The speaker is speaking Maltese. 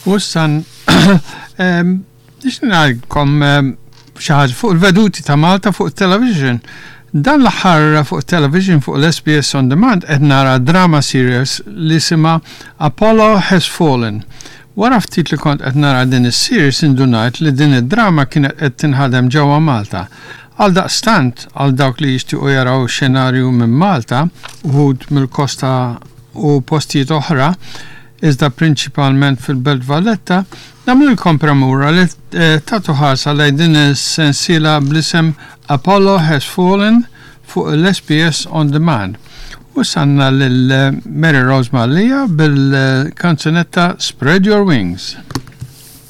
U issa nixtieq ngħidilkom xi ħaġa fuq il-veduti ta' Malta fuq it-television. Dan l-aħħar fuq it-television fuq l-SBS On Demand qed nara drama series li jisimha Apollo Has Fallen. Wara ftit li kont qed nara din is-series indunajt li din id-drama kienet qed tinħadem ġewwa Malta. Għaldaqstant, għal dawk li jixtiequ jaraw xenarju minn Malta, uħud mill-kosta u postijiet oħra, iżda prinċipalment fil-Belt Valletta, nagħmlilkom premura li tagħtu ħarsa lejn din is-sensiela bl-isem Apollo Has Fallen fuq l-SBS On Demand. U issa għandna lil Mary Rose Mallia bil-kanzunetta Spread Your Wings.